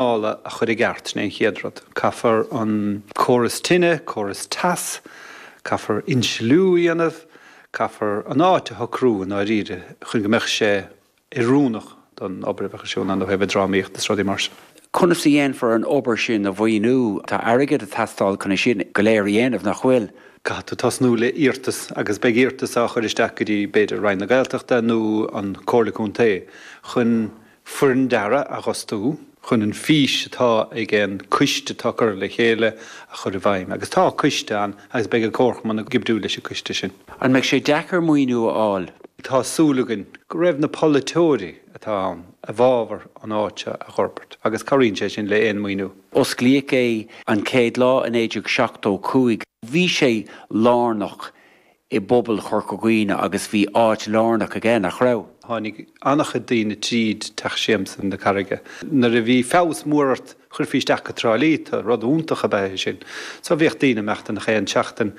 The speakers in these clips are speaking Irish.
A chur i gceart, sin é an chéad rud. Caithfear an córas tine, córas teas, caithfear insliú a dhéanamh, caithfear an áit a shocrú i ndáiríre chun go mbeadh sé oiriúnach don obair a bheadh ar siúl ann ó thaobh drámaíocht is rudaí mar sin. Conas a dhéanfar an obair sin a mhaoiniú? Tá airgead ag teastáil chun é sin go léir a dhéanamh, nach bhfuil? Caithfidh tú tosnú le iarratas agus beidh iarratas á chur isteach go dtí, b'fhéidir, Roinn na Gaeltachta nó an Comhairle Contae chun foireann dearaidh a dh'fhostú chun an fís atá ag an coiste atá curtha le chéile a chur i bhfeidhm. Agus tá coiste ann agus beidh an Comharchumann ag oibriú leis an coiste sin. An mbeidh sé deacair maoiniú a fháil? Tá súil againn go raibh na polaiteoirí atá ann i bhfabhar an áit seo a dh'fhorbairt agus cabhraíonn sé sin le aon maoiniú. Osclaíodh é an chéad lá i 1975. Bhí sé lárnach i bpobal Chorca Dhuibhne agus bhí áit lárnach aige, nach raibh? Tháinig an-chuid daoine tríd Teach Siamsa na Carraige. Nuair a bhí feabhas mór ort, chuirfí isteach go Trá Lí tú, rud iontach ab ea é sin. So bhíodh daoine ag imeacht ann chaon tseachtain.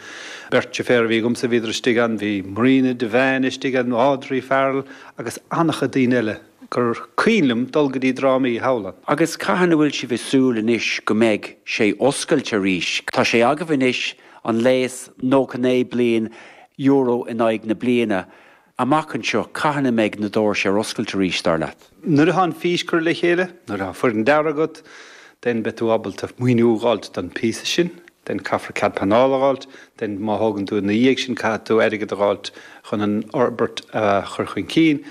Beirt deirféar a bhí agamsa, bhíodar istigh ann, bhí Marina Devane istigh ann, Audrey Farrell agus an-chuid daoine eile gur cuimhin liom dul go dtí drámaí thall ann. Agus cathain a bhfuil sibh ag súil anois go mbeidh sé oscailte arís? Tá sé agaibh anois an léas 99 bliain, euro in aghaidh na bliana. Amach anseo, cathain a mbeidh na doirse ar oscailt arís, dar leat? Nuair atá an fís curtha le chéile, nuair atá foireann dearaidh agat, then beidh tú ábalta maoiniú a dh'fháilt don phíosa sin, then caithfear cead pleanála a dh'fháilt, then má thógann tú ina dhiaidh sin caithfidh tú airgead a dh'fháilt chun an fhorbairt a chur chun cinn.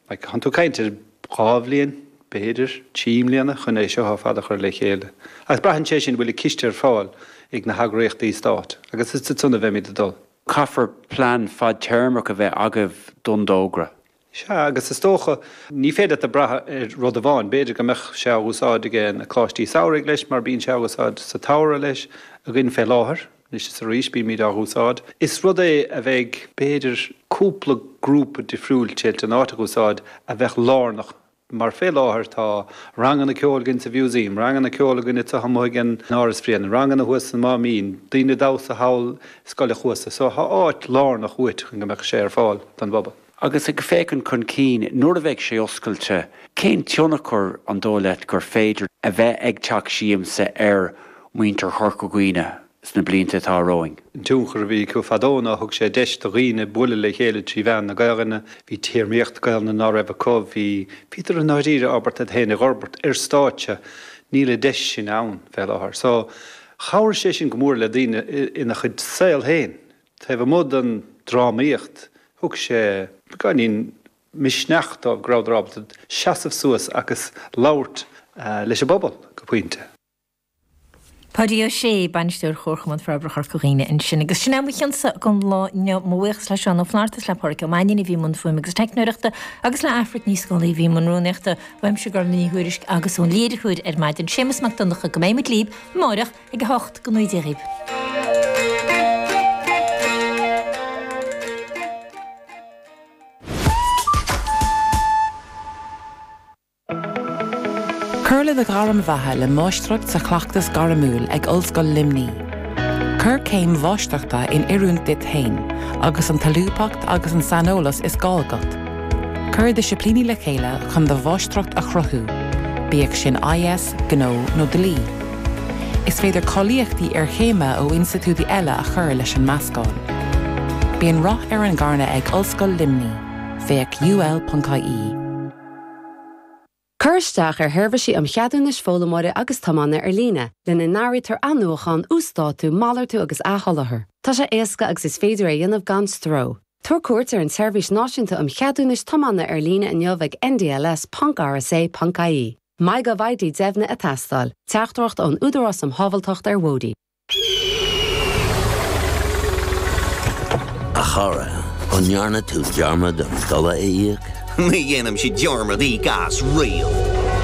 Like, thánn tú ag caint ar dhá bhliain, b'fhéidir, trí mbliana chun é seo ar fad a chur le chéile. Agus braitheann sé sin, bhfuil an ciste ar fáil ag na heagraíochtaí stáit, agus is ansan a bheimid ag dul. Caithfear plean fadtéarmach a bheith agaibh don dtógra. Sea, agus is dócha, ní féidir leat a brath ar rud amháin. B'fhéidir go mbeadh sé á úsáid ag na coláistí samhraidh leis, mar bíonn sé á úsáid sa tsamhradh leis againn fé láthair. Anois is arís bímid á úsáid. Is rud é a bheidh, b'fhéidir, cúpla grúpa difriúil toilteanach an áit a úsáid a bheadh lárnach mar fé láthair tá ranganna ceoil againn sa Mhúsaem, ranganna ceoil againn anseo amuigh ag an Áras Bhréanainn, ranganna thuas sa Máimín, daoine damhsa thall i Scoil a' Chuasa. So tá áit lárnach uait chun go mbeadh sé ar fáil don bpobal. Agus ag féachaint chun cinn, nuair a bheidh sé oscailte, cén tionchar an dóigh leat gur féidir a bheith ag Teach Siamsa ar mhuintir Chorca Dhuibhne sna blianta atá romhainn? An tionchar a bhí acu fadó ná thug sé deis do dhaoine bualadh le chéile trí mheán na Gaelainne, bhí téarmaíocht Gaelainne ná raibh acu, bhí, bhíodar i ndáiríre ábalta iad féin a dh'fhorbairt ar stáitse, níl an deis sin ann fé láthair. So, chabhraigh sé sin go mór le daoine ina chuid saol féin, taobh amuigh den drámaíocht, thug sé beagáinín misneach dóibh go rabhadar ábalta seasamh suas agus labhairt leis an bpobal go pointe. Páidí Ó Sé, Bainisteoir Chomharchumann Forbartha Chorca Dhuibhne ansin. Agus sin é mo chionsa don lá inniu. Mo bhuíochas le Seán Ó Flatharta is le Pádhraic Ó Mainnín a bhí i mbun fuaime agus teicneoireachta agus le Aifric Ní Scolaí a bhí i mbun rúnaíochta. Uaimse Gormfhlaith Ní Thuairisg agus ón léiritheoir ar maidin, Séamus Mac Donncha, go mbeidh muid libh amáireach ag 8 go ngnóthaí Dia dhaoibh. Cuir le do ghairm bheatha le Máistreacht sa Chleachtas Gairmiúil ag Ollscoil Luimnigh. Cuir céim mháistreachta in oiriúint duit féin agus an tsolúbthacht agus an saineolas is gá agat. Cuir disciplíní le chéile chun do mháistreacht a chruthú, bíodh sin IS, Gnó nó Dlí. Is féidir cáilíochtaí iarchéime ó institiúidí eile a chur leis an meascán. Bíonn rath ar an gcarnadh ag Ollscoil Luimnigh. Féach ul.ie. Cuir isteach ar sheirbhísí um cheadúnais foghlaimeora agus tiomána ar líne, lena n-áirítear athnuachan, uasdátú, malartú agus athsholáthar. Tá sé éasca agus is féidir é a dhéanamh gan stró. Tabhair cuairt ar an tSeirbhís Náisiúnta um Cheadúnais Tiomána ar líne inniu ag ndls.rsa.ie. MyGovID deimhnithe ag teastáil. Teachtaireacht ón Údarás um Shábháilteacht ar Bhóithre. A chara, an ndearna tú dearmad an dola a íoc? Ní dhéanaimse dearmad íoc as riamh.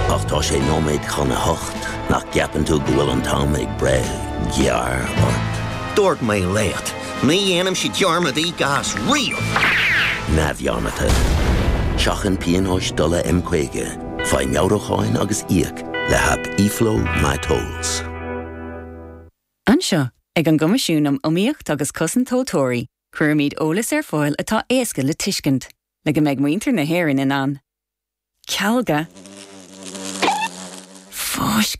Ach tá sé nóiméad chun a hocht, nach gceapann tú go bhfuil an t-am ag breith gearr ort? Dúirt mé leat, ní dhéanaimse dearmad íoc as riamh! Neamhdhearmadta. Seachain pionóis dola M50, faigh meabhrúcháin agus íoc le haip eFlow MyTolls. Anseo, ag an gCoimisiún um Iomaíocht agus Cosaint Tomhaltóirí, cuirimid eolas ar fáil atá éasca le tuiscint, le go mbeidh muintir na hÉireann in ann cealga. Fáisceadh.